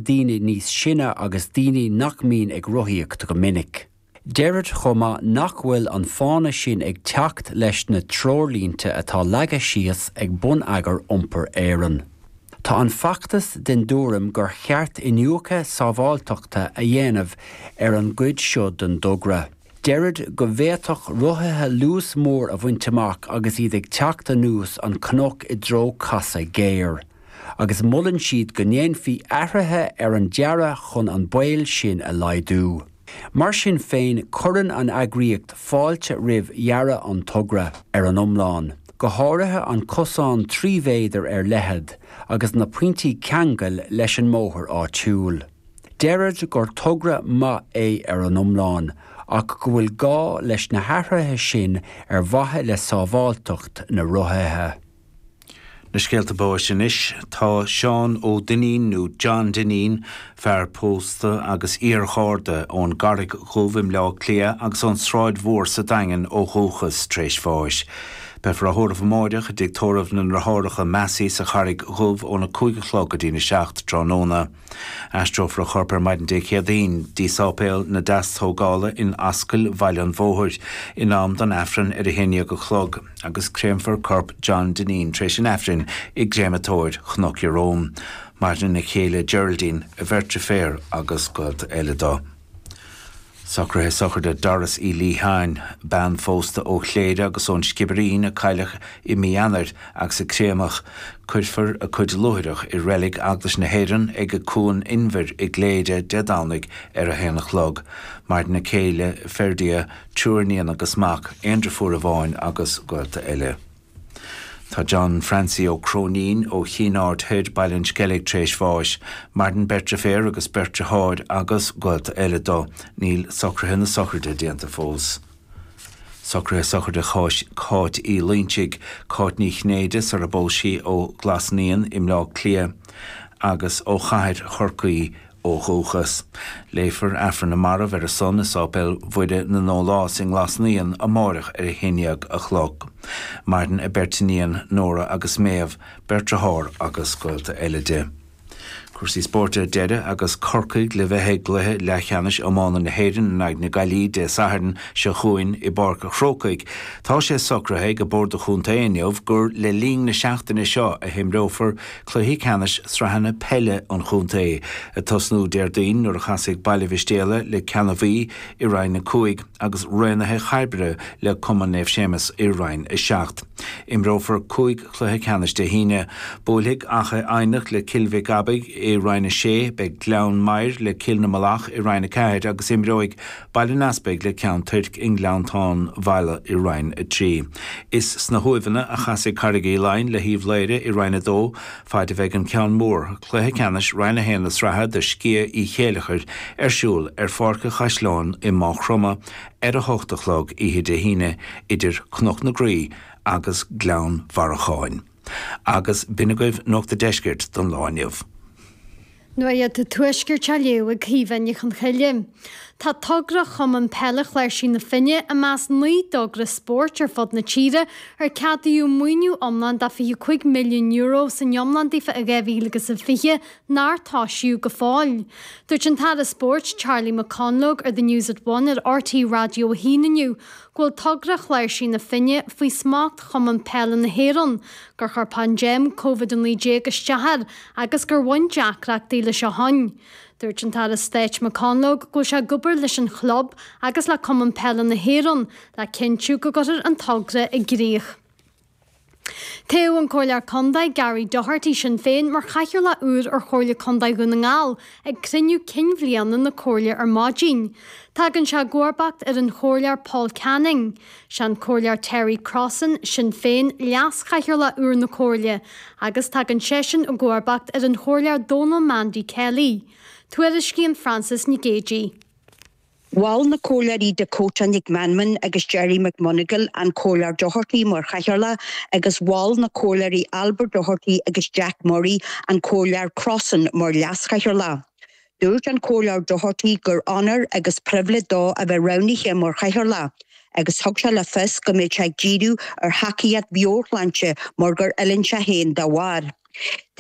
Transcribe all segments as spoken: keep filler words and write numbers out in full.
daoine níos sine agus daoine nach mbíonn ag rothaíocht go minic. Deirid chomh maith nach bhfuil an fána sin ag teacht leis na treoirlínte atá leagtha síos ag Bonneagar Iompair Éireann. Tá an feachtas den tuairim gur cheart iniúchadh sábháilteachta a dhéanamh ar an gcuid seo den togra. Deirid go bhféadfadh rothaithe luas mór a bhaint amach agus iad ag teacht anuas an cnoc i dtreo casadh géar. Agus molann siad go ndéanfaí athruithe ar an dearadh chun an baol sin a laghdú. Mar sin féin cuireann an eagraíocht fáilte roimh dhearadh an togra ar an iomlán. Go háirithe an cosán trí mhéadar ar leithead agus na pointí ceangail leis an mbóthar áitiúil. Deirid gur togra maith é ar an iomlán, ach go bhfuil gá leis na hathruithe sin ar mhaithe le sábháilteacht na rothaithe. Na scéalta báis anois tá Seán Ó Duinnín nó John Dineen, fear pósta agus iargharda ón gCarraig Dhubh i mBleá Cliath agus ón Sráid Mhór sa Daingean ó dhúchas tar éis bháis. Beifear á thórramh amárach i dtigh tórraimh na nDeartháireacha Massey sa Charraig Dhubh óna cúig a chlog go dtí a seacht tráthnóna. Aistreofar a chorp ar maidin Dé Céadaoin, dtí Sáipéal na Deastógála in Ascaill Bhaile an Bhóthair, in am don Aifreann ar a haon déag a chlog, agus créamfar corp John Dineen tar éis an Aifrinn i gcréamatóir Chnoc Ieróm. Maireann a chéile Geraldine, a bheirt deirféar agus gaolta eile dó. Socruithe sochraide Doris Uí Liatháin, bean phósta ó Chléire agus ón Sciobairín a cailleadh i mí Eanáir agus a créamadh. Cuirfear a cuid luaithreach i reilig Eaglais na hÉireann ag Cuan Inbhir i gCléire Dé Domhnaigh ar a haon a chlog. Maireann a céile Ferdia, triúr iníon agus mac, aon deirfiúr amháin agus gaolta eile. Tá John Francie Ó Cróinín ó Chinn Aird Thoir Baile an Sceilg tar éis bháis, maireann beirt deirféar agus beirt deartháir agus gaolta eile dó. Níl socruithe na sochraide déanta fós. Socruithe sochraide Cháit Uí Loinsigh, Cáit Ní Chinnéide sar a bpós sí ó Ghlas Naíon i mBleá Cliath agus ó chathair Chorcaí ó dhúchas. Léifear Aifreann na Marbh ar a son i Sáipéal Mhuire na nDólás i nGlas Naíon amárach ar a haon déag a chlog. Maireann a beirt iníon Nóra agus Méabh, beirt deartháir agus gaolta eile di. Cúrsaí spóirt ar deireadh agus Corcaigh le bheith ag cluiche leathcheannais iomána na hÉireann in aghaidh na Gaillimhe Dé Sathairn seo chugainn i bPáirc an Chrócaigh. Tá sé socraithe ag an Bord Chontae inniu gur le linn na seachtaine seo a himreofar cluichí ceannais sraitheanna peile an chontae, ag tosnú Déardaoin nuair a chasfaidh Baile Mhistéala le Ceannabhaí i Roinn a cúig agus Raonaithe Chairbre le Cumann Naomh Séamus i Roinn a seacht. Imreofar cúig chluiche ceannais Dé hAoine. Buailfidh Achadh Eidhneach le Cill Mhic Abaidh i Roinn a sé, beidh Gleann Maghair le Cill na Malach i Roinn a ceathair agus imreoidh Baile an Easpaig le Ceann Toirc i nGleanntán Mheala i Roinn a trí. Is sna hUaimheanna a chasfaidh Carraig Uí Leighin le hUíbh Laoire i Roinn a dó, faid a bheidh an ceann mór, cluiche ceannais Roinn a haon na sraithe do Sciath Uí Chéilleachair ar siúl ar Pháirc an Chaisleáin i Maigh Chromtha ar a hocht a chlog oíche Dé hAoine idir Cnoc na Graí agus Gleann Bharacháin. Agus b'in agaibh Nuacht an Deiscirt don lá inniu. Nuacht an Tuaiscirt á léamh ag Caoimhe Ní Chonchoille. Tá togra Chumann Peile Chláirsigh na Finne i measc naoi dtogra spóirt ar fud na tíre ar ceadaíodh maoiniú iomlán de fiche cúig milliún euro san iomlán daofa i dhá mhíle agus a fiche nár toisíodh go fóill. Dúirt an tAire Spóirt Charlie McConalogue ar The News at One ar RTÉ Raidió a haon inniu go bhfuil togra Chláirsigh na Finne faoi smacht Chumann Peile na hÉireann, gur chuir paindéim Covid a naoi déag isteach air agus gur bhain deacrachtaí leis ó shin. Dúirt an tAire Stáit McConalogue go bhfuil sé ag obair leis an chlub agus le Cumann Peile na hÉireann le cinntiú go gcuirfear an togra i gcrích. Toghadh an Comhairleoir Contae Gary Doherty Sinn Féin mar chathaoirleach úr ar Chomhairle Contae Dhún na nGall ag cruinniú cinn bhliana na Comhairle ar maidin. Tagann sé i gcomharbacht ar an Chomhairleoir Paul Canning. Sé an Comhairleoir Terry Crossan, Sinn Féin, leas-chathaoirleach úr na Comhairle agus tagann seisean i gcomharbacht ar an Chomhairleoir Donal Mandy Kelly. Tuairiscíonn Frances Nic Géadaigh. Mhol na comhairleoirí Dakota Nic Meanman agus Gerry McMonagall an Comhairleoir Doherty mar chathaoirleach agus mhol na comhairleoirí Albert Doherty agus Jack Murray an Comhairleoir Crossan mar leas-chathaoirleach. Dúirt an Comhairleoir Doherty gur onóir agus pribhléid dó a bheith roghnaithe mar chathaoirleach, agus thug sé le fios go mbeidh sé ag díriú ar thacaíocht mheabhairshláinte mar gur fhulaing sé féin dá bharr.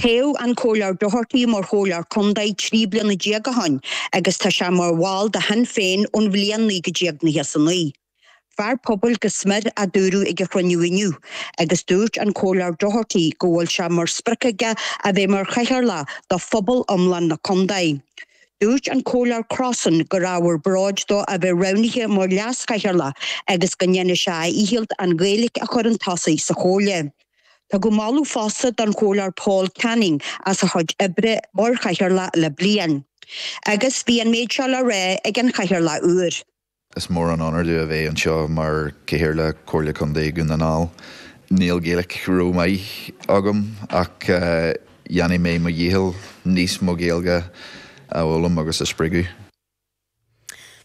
Toghadh an Comhairleoir Doherty mar chomhairleoir contae trí bliana déag ó shin agus tá sé mar bhall de Shinn Féin ón bhliain naoi déag nócha a naoi. Fear pobail go smior a dúradh ag an chruinniú inniu, agus dúirt an Comhairleoir Doherty go bhfuil sé mar sprioc aige a bheith mar chathaoirleach do phobal iomlán na contae. Dúirt an Comhairleoir Crossan gur ábhar bróid dó a bheith roghnaithe mar leaschathaoirleach agus go ndéanfaidh sé a dhícheall an Ghaeilge a chur chun tosaigh sa chomhairle. Tugadh moladh fosta don Chomhairleoir Paul Canning as a chuid oibre mar chathaoirleach le bliain. Agus bhí an méid seo le rá ag an chathaoirleach úr. Is mór an onóir domh a bheith anseo mar Chathaoirleach Comhairle Contae Dhún na nGall. Níl Gaeilge rómhaith agam ach uh, dhéanfaidh mé mo dhícheall níos mó Gaeilge a fhoghlaim agus a spreagadh.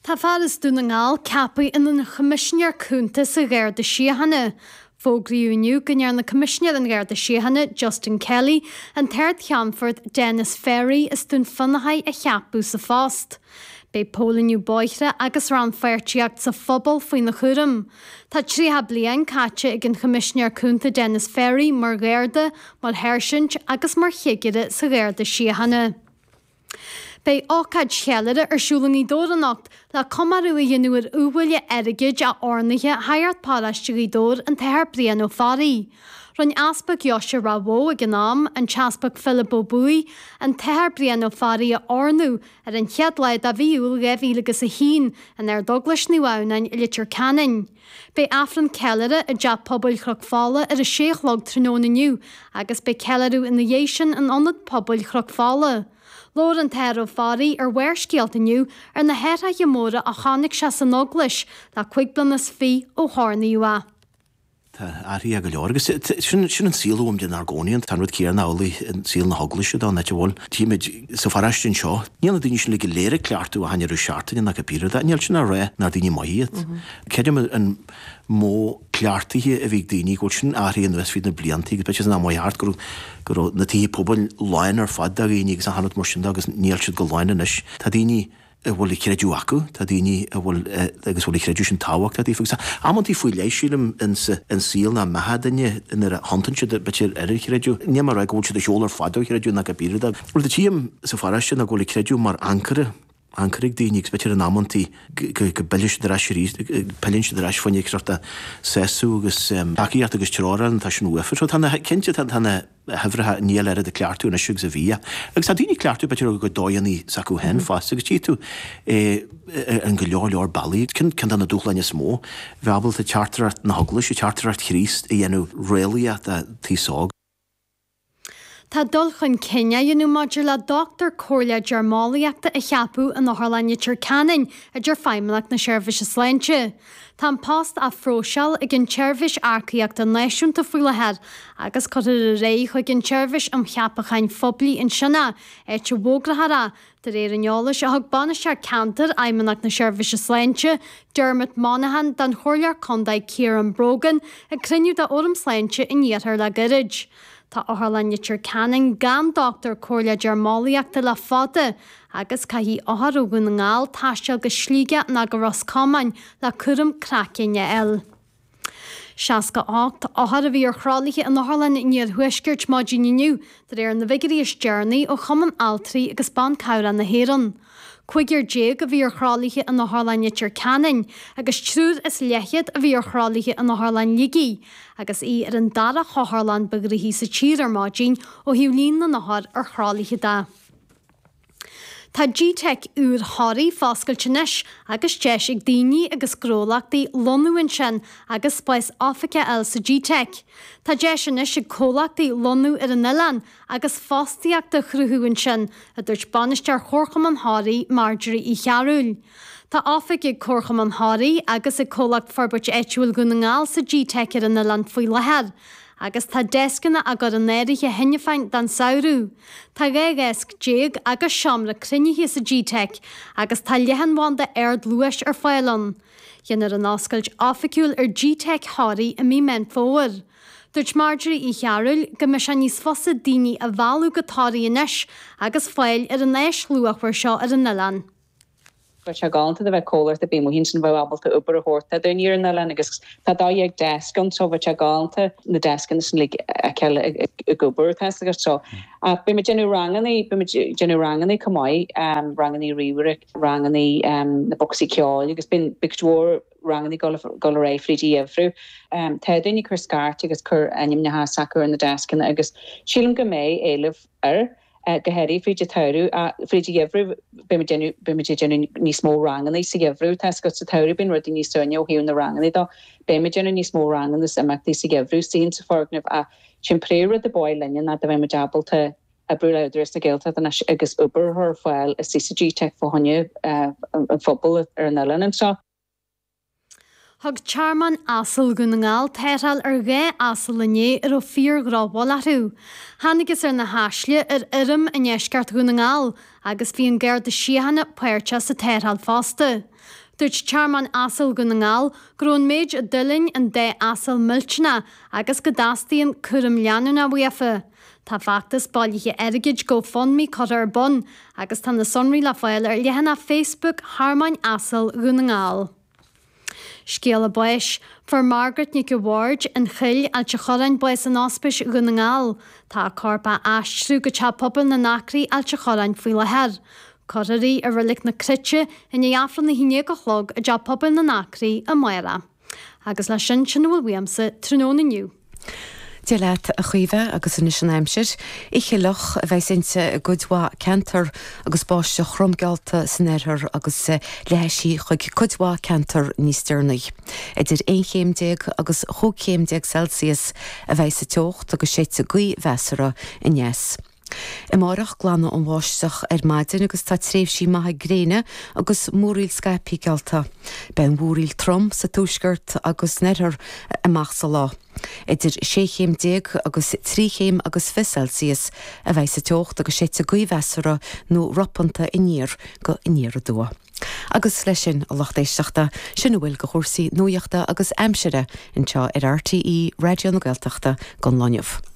Tá fear as Dún na nGall ceaptha ina Choimisinéir Cúnta sa Gharda Síochána. Fógraíodh inniu go ndearna Coimisinéir an Gharda Síochána Justin Kelly an tArd-Cheannfort Dennis Ferry as Dún Fionnachaidh a cheapadh sa phost. Beidh póilíniú bóithre agus rannpháirtíocht sa phobal faoina chúram. Tá tríocha bliain caite ag an Choimisinéir Cúnta Dennis Ferry mar Gharda, mar sháirsint agus mar chigire sa Gharda Síochána. Beidh ócáid cheiliúrtha ar siúl i nGaoth Dobhair anocht le comóradh a dhéanamh ar iubhaile airgid a oirnithe Shagart Paróiste Ghaoth Dobhair an tAthair Brian Ó Fearraigh. Rinne Easpag Dheoise Ráth Bhoth ag an am, an tEaspag Philip Ó Buaigh, an tAthair Brian Ó Fearraigh a oirniú ar an chéad lá de mhí Iúil dhá mhíle agus a haon in Ardeaglais Naomh Adhamhnáin i Leitir Ceanainn. Beidh Aifreann ceiliúrtha i dTeach Pobail Chnoc Fola ar a sé a chlog tráthnóna inniu agus beidh ceiliúradh ina dhiaidh sin in Ionad Pobail Chnoc Fola. Labhair an tAthair Ó Fearraigh ar Bharrscéalta inniu ar na hathruithe móra a chonaic sé san eaglais le cúig bliana is fiche ó hoirníodh é. Tá athraithe go leor agus sin sin an saol uaim inár gcónaí tá an rud céanna amhlaidh in saol na heaglaise dá net bhfuil. Tímid sa pharóiste anseo, níl na daoine sin le go léir ag cleachtadh a hain seachtaine nach go bíra níl sin á rá nach daoine maithe iad. Creidim an modh cleachtaithe a bhí ag daoine go bhfuil sin athraithe anuas fríd na blianta agus b'fhéidir san am thart go go raibh na tithe pobail lán ar fad de dhaoine agus an rud mar sin de agus níl siad go lán anois. Tá daoine a bhfuil a creideamh acu, tá daoine a bhfuil agus bhfuil a creideamh sin tábhachtach daofa agus amantaí faoi leith sílim in in saol na mbeatha duine nuair a thiontann siad b'fhéidir ar an chreideamh. Ní mar go bhfuil siad a sheol ar fad ó chreideamh ná go bíra de. Rud a tchím sa pharóiste ná go bhfuil a creideamh mar ancaire ancaire ag daoine agus b'fhéidir in amantaí go bpilleann siad ar ais arís, pilleann siad ar ais faoin sort de sásamh agus tacaíocht agus treoir tá sin uafa. So tá na cinnte tá na huimhreacha níl oiread ag cleachtadh anois agus a bhí. Agus tá daoine cleachtadh b'fhéidir go dóigheanna s'acu féin fosta agus tchí tú an go leor leor bealaí cinn ceann de na dúshláin is mó bheith ábalta teachtaireacht na heaglaise, teachtaireacht Chríost a dhéanamh réalaíoch do aos óg. Tá dul chun cinn á dhéanamh maidir le dochtúir comhairle deirmeolaíochta a cheapadh in Otharlann Leitir Ceanainn a deir Feidhmeannacht na Seirbhíse Sláinte. Tá an post á phróiseáil ag an tSeirbhís Earcaíochta Náisiúnta faoi láthair agus cuirfear ar aghaidh chuig an tSeirbhís um Cheapacháin Phoiblí ansin é, áit a bhfógrófar é, de réir an eolais a thug Bainisteoir Ceantair Fheidhmeannacht na Seirbhíse Sláinte, Dermot Monaghan don Chomhairleoir Contae Ciarán Brogan ag cruinniú de Fhóram Sláinte in Iarthar le gairid. Tá Otharlann Leitir Ceanainn gan dochtúir comhairle deirmeolaíochta le fada agus caithfidh othair ó Dhún na nGall taisteal go Sligeach ná go Ros Comáin le cúram craicinn a fháil. Seasca ocht othar a bhí ar thralaithe in Otharlann an Iarthuaiscirt maidin inniu de réir na bhfigiúirí is deireanaí ó Chumann Altraí agus Ban Cabhrach na hÉireann. Cúigear déag a bhí ar thralaithe in Otharlann Leitir Ceanainn agus triúr is leathchéad a bhí ar thralaithe in Otharlann Shligigh, agus í ar an dara hotharlann ba ghnoithí sa tír ar maidin ó thaobh líon na n-othar ar thralaithe de. Tá G-Tech úr Thoraí foscailte anois agus deis ag daoine agus gnólachtaí lonnú ansin agus spás oifige a fháil sa G-Tech. Tá deis anois ag comhlachtaí lonnú ar an oileán agus fostaíocht a chruthú ansin, a dúirt bainisteoir Chomharchumann Thoraí Marjorie Uí Chearúil. Tá oifig ag Comharchumann Thoraí agus ag Comhlacht Forbairt Áitiúil Dhún na nGall sa G-Tech ar an oileán faoi láthair. Agus tá deascanna á gcur in áirithe cheana féin don samhradh. Tá dhá dheasc déag agus seomra cruinnithe sa G-Tech agus tá leathanbhanda ardluais ar fáil ann. Déanfar an oscailt oifigiúil ar G-Tech Thoraí i mí Meán Fómhair. Dúirt Marjorie Uí Chearúil go mbeidh sé níos fusa daoine a mhealladh go Toraigh anois agus fáil ar an áis luachmhar seo ar an oileán. Bheadh sé galánta do bheith comhlacht ar bith amuigh ansin bheadh ábalta obair a thabhairt do dhaoine ar an oileán agus tá dó dhéag deasc ann so bheadh sé galánta na deascanna sin uilig a fheiceáil ag obair tá a fhios agat so. Ach beidh muid déanamh ranganna, beidh muid déanamh ranganna chomh maith, ranganna ríomhaire, ranganna na bocsaí ceoil agus bíonn cuid mhór ranganna dul dul ar aghaidh fríd an gheimhreadh. Tá daoine ag cur scairt agus cur ainmneacha s'acu ar na deascanna agus sílim go mbeidh éileamh air. Go háirithe fríd an tsamhradh, fríd an gheimhreadh beidh muid ag déanamh níos mó ranganna sa gheimhreadh. Tá a fhios agat sa tsamhradh bíonn rudaí níos suaimhní ó thaobh na ranganna dó. Beidh muid ag déanamh níos mó ranganna is imeachtaí sa gheimhreadh istigh sa foirgneamh ach sin príomhrud a ba mhaith linne ná dá mbeadh muid ábalta oibriú le Údarás na Gaeltachta anois agus obair a chur ar fáil istigh sa G-Teic fá choinne an phobail ar an oileán anseo. Thug Tearmann Asal Dhún na nGall tarrtháil ar dhá asal inné a raibh fíor-dhrochbhail orthu. Thángthas ar na haisle ar fheirm i ndeisceart Dhún na nGall agus bhí an Garda Síochána páirteach sa tarrtháil fosta. Dúirt Tearmann Asal Dhún na nGall go raibh an méid a d'fhulaing an dá asal millteanach agus go dteastaíonn cúram leanúnach uafa. Tá feachtas bailithe airgid GoFundMe curtha ar bun agus tá na sonraí le fáil ar leathanach Facebook Thearmainn Asal Dhún na nGall. Scéala báis, Fuair Margaret Nic a' Bhaird, An Chill, Ailt a' Chorráin, bás in Ospís Dhún na nGall. Tá a corp á aistriú go Teach Pobail na nAcraí, Ailt a' Chorráin faoi láthair. Cuirfear í i Reilig na Cruite i ndiaidh Aifreann a haon déag a chlog i dTeach Pobail na nAcraí amárach. Agus leis sin, sin a bhfuil uaimse tráthnóna inniu. Dia leat, a Chaoimhe, agus anois an aimsir. Oíche fhliuch a bheas inti i gcuid mhaith ceantar agus báisteach throm geallta san oirthear agus leathfaidh sí chuig cuid mhaith ceantar níos deireanaí. Idir aon chéim déag agus chúig chéim déag Celsius a bheidh sa teocht agus séidfidh gaoth mheasartha aneas. Amárach glanfaidh an bháisteach ar maidin agus tá tréimhsí maithe gréine agus múraíl scaipthe geallta. Beidh an mhúraíl trom sa tuaisceart agus san oirthear amach sa lá. Idir sé chéim déag agus trí chéim agus fiche Celsius a bheidh sa teocht agus séidfidh gaoth mheasartha nó ropanta aniar go aniar aduaidh. Agus leis sin, a lucht éisteachta, sin a bhfuil de chúrsaí nuachta agus aimsire anseo ar RTÉ Raidió na Gaeltachta don lá inniu.